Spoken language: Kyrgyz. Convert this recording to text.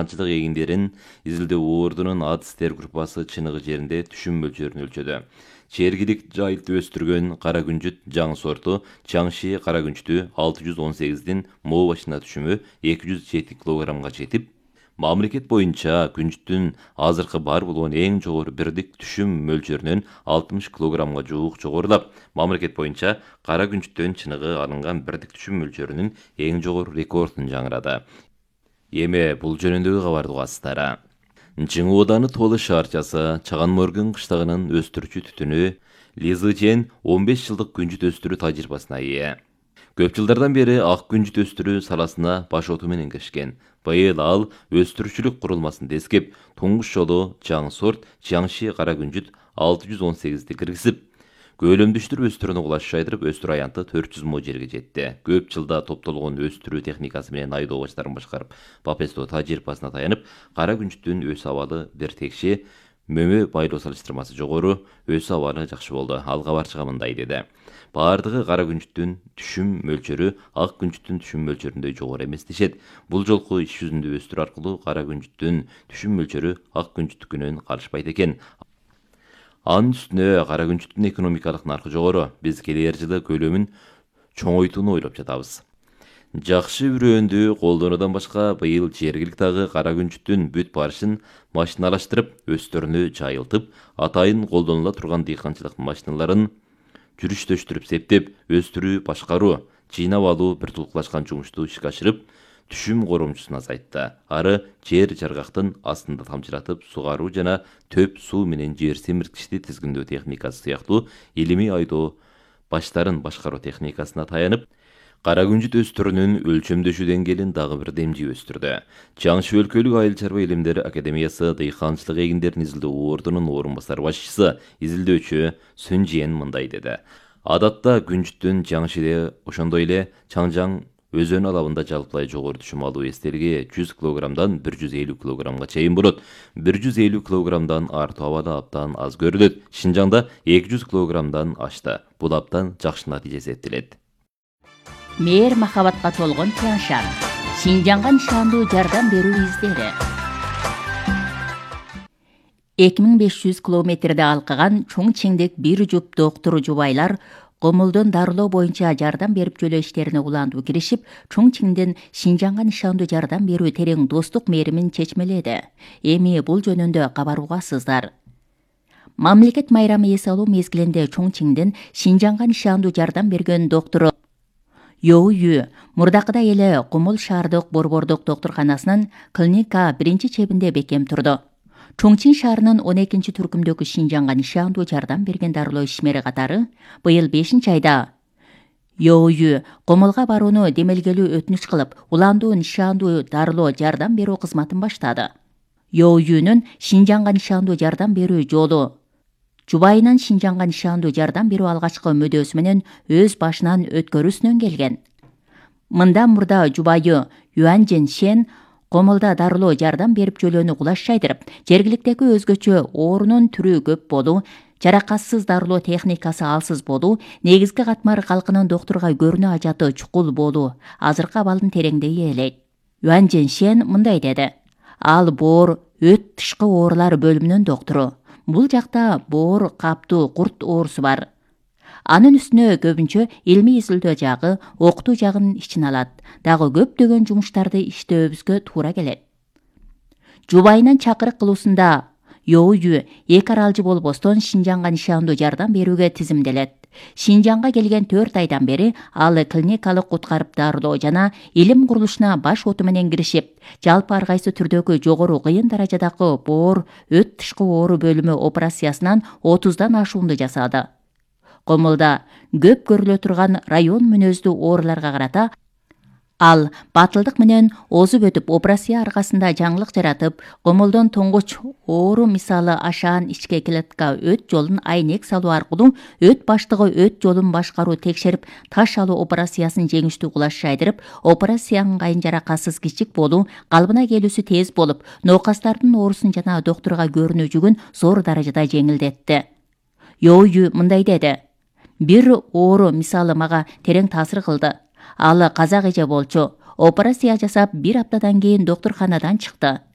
дыйканчылык эгиндерин изилдөө ордунун адыстер группасы чыныгы жеринде түшүм мөлчөрүн өлчөдү. Чергилик жайылтып өстүргөн кара күнжүт жаңы сорту Чаңши кара күнчүтү 618дин moo башына түшүмү 207 килограммга жетип, мамлекет боюнча күнжүттүн азыркы бар болгон эң жогору бирдик түшүм мөлчөрүнөн 60 килограммга жуук жогорулап, мамлекет боюнча кара күнжүттөн чыныгы алынган бирдик түшүм мөлчөрүнүн эң жогору рекордун жаңырады. Эми бул жөнүндөгү кабарды угасыздар. Чыңы ооданы Толы шаарчасы Чаган Моргун кыштагынын өстүрүүчү түтүнү Лизы Жен 15 жылдык күнжүт өстүрүү тажрыйбасына ээ. Көп жылдардан бери ак күнжүт өстүрүү саласына баш оту менен киришкен. Быйыл ал өстүрүүчүлүк курулмасын дескеп, туңгуч жолу жаңы сорт Чаңши кара күнжүт 618ди киргизип, көөлөмдөштүрүп өстүрүүнү кулаш жайдырып, өстүрүү аянты 400 мо жерге жетти. Көп жылда топтолгон өстүрүү техникасы менен айдоо баштарын башкарып, Бапесто тажрыйбасына таянып, кара күнжүттүн өсүү абалы бир текши, мөмө байлоо салыштырмасы жогору, өсүү абалы жакшы болду. Ал кабарчыга мындай деди: баардыгы кара күнжүттүн түшүм мөлчөрү ак күнжүттүн түшүм мөлчөрүндөй жогору эмес дешет. Бул жолку иш жүзүндө өстүрүү аркылуу кара күнжүттүн түшүм мөлчөрү ак күнжүттүкүнөн калышпайт экен. Анын үстүнө кара күнжүттүн экономикалык наркы жогору. Биз келер жылы көлөмүн чоңойтууну ойлоп жатабыз. Жакшы үрөөндү колдонуудан башка быйыл жергиликтагы кара күнжүттүн бүт барышын машиналаштырып, өстөрүнү жайылтып, атайын колдонула турган дыйканчылык машиналарын жүрүштөштүрүп септеп, өстүрүү, башкаруу, жыйнап алуу бир тулкулашкан жумушту ишке ашырып, түшүм коромчусун азайтты. Ары жер жаргактын астында тамчылатып сугаруу жана төп суу менен жер семирткичти тизгиндөө техникасы сыяктуу илимий айдоо баштарын башкаруу техникасына таянып, кара күнжүт өстүрүүнүн өлчөмдөшүү деңгээлин дагы бир демжип өстүрдү. Чаңши өлкөлүк айыл чарба илимдери академиясы дыйканчылык эгиндерин изилдөө ордунун орун басар башчысы, изилдөөчү Сүн Жиен мындай деди: адатта күнжүттүн Чаңшиде ошондой эле Чаңжаң өзөнү алабында жалпылай жогору түшүм алуу эстелиги 100 килограммдан 150 килограммга чейин болот. 150 килограммдан артуу абалы абдан аз көрүлөт. Шинжаңда 200 килограммдан ашты. Бул абдан жакшы натыйжа эсептелет. Мээр махабатка толгон Чаңшан, Шинжаңга нишандуу жардам берүү издери. 2500 километрде алкыган Чоңчиңдик бир жуп доктуру жубайлар Комулдун дарылоо боюнча жардам берип жөлөө иштерине улантуу киришип, Чоңчиңден Шинжаңга нишандуу жардам берүү терең достук мээримин чечмеледи. Эми бул жөнүндө кабар угасыздар. Мамлекет майрамы эс алуу мезгилинде Чоңчиңден Шинжаңга нишандуу жардам берген доктуру Йоую мурдакыдай эле Кумул шаардык борбордук доктурканасынын клиника биринчи чебинде бекем турду. Чоңчиң шаарынын 12-чи түркүмдөгү Шинжаңга нишандуу жардам берген дарылоо ишмери катары быйыл 5-айда Йоую Комулга барууну демелгелүү өтүнүч кылып, уландуу нишандуу дарылоо жардам берүү кызматын баштады. Йоуюнун Шинжаңга нишандуу жардам берүү жолу жубайынан Шинжаңга нишандуу жардам берүү алгачкы мөдөсү менен өз башынан өткөрүүсүнөн келген. Мындан мурда жубайы Юан Жен Комулда дарылоо жардам берип жөлөөнү кулаш жайдырып, жергиликтеги өзгөчө оорунун түрү көп болуу, жаракатсыз дарылоо техникасы алсыз болуу, негизги катмар калкынын доктурга көрүнүү ажаты чукул болуу азыркы абалын тереңдей ээлейт. Юан Жен мындай деди: ал боор өт тышкы оорулар бөлүмүнүн доктуру. Бул жакта боор, каптуу, курт оорусу бар. Анын үстүнө көбүнчө илмий изилдөө жагы, окутуу жагын ичине алат. Дагы көптөгөн жумуштарды иштөөбүзгө туура келет. Жубайынан чакырык кылуусунда Йоую эки аралжы болбостон Шинжаңга нишандуу жардам берүүгө тизимделет. Шинжаңга келген 4 айдан бери ал клиникалык куткарып дарылоо жана илим курулушуна баш оту менен киришип, жалпы ар кайсы түрдөгү жогору кыйын даражадагы боор, өт тышкы оору бөлүмү операциясынан 30дан ашуунду жасады. Комулда көп көрүлө турган район мүнөздүү ооруларга карата ал батылдык менен озуп өтүп, операция аркасында жаңылык жаратып, Комулдун туңгуч оору мисалы ашаан ичке клетка өт жолун айнек салуу аркылуу өт баштыгы өт жолун башкаруу текшерип, таш алуу операциясын жеңиштүү кулаш жайдырып, операциянын кайын жаракатсыз кичик болуу, калыбына келүүсү тез болуп, ноокастардын оорусун жана доктурга көрүнүү жүгүн зор даражада жеңилдетти. Йоую мындай деди: бир оору мисалы мага терең таасир кылды. Ал казак эже болчу. Операция жасап 1 аптадан кийин доктурканадан чыкты.